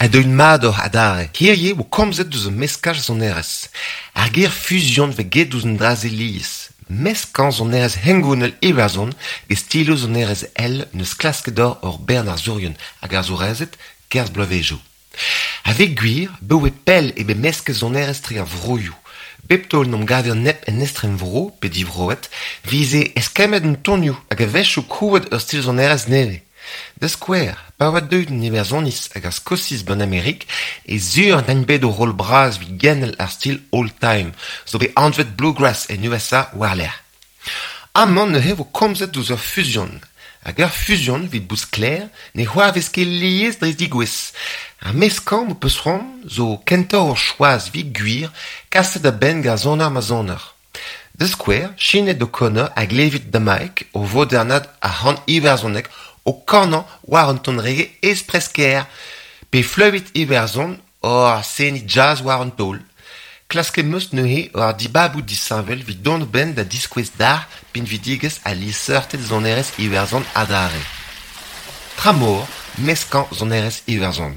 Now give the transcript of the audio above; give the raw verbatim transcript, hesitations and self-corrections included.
Ha deuet mat oc'h adarre. Hirie vo komzet deus ur meskaj sonerezh. Ar ger fuzion vez get ouzh an dra-se lies. Meskañ sonerezh hengounel Iwerzhon get stiloù sonerezh ell neus klasket d'ober ur bern arzourien hag arzourezed 'kerzh bloavezhioù. A-vez gwir, 'baoe pell eo bet mesket sonerezh tre ar vroioù. Bep taol 'n em gaver neb en estrenvro pe divroet 'vize eskemmet an tonioù hag a-wechoù krouet ur stil sonerezh nevez. Da skouer, pa oa deuet an Iwerzhoniz hag ar Skosiz 'ban Amerik e sur 'dint bet ur roll bras evit genel ar stil old-time, zo bet anvet bluegrass en U S A war-lerc'h. Amañ neuze vo komzet deus ur fuzion. Hag ur fuzion evit bout sklaer ne c'hoarvez ket lies dre zigouez. Ar meskañ m'ho peus c'hoant zo kentoc'h ur choaz evit gwir kaset a-benn gant soner ma soner. Da skouer, Sinéad O'Connor a glevit damaik o vodernat ar c'han iwerzhonek o kanañ war un ton reggae espres-kaer, pe fleüt Iwerzhon oc'h seniñ jazz war an taol. Klasket 'm eus neuze war dibaboù disheñvel evit dont a-benn da diskouez deoc'h pinvidigezh ha liesseurted sonerezh Iwerzhon adarre. Tramor, meskañ sonerezh Iwerzhon.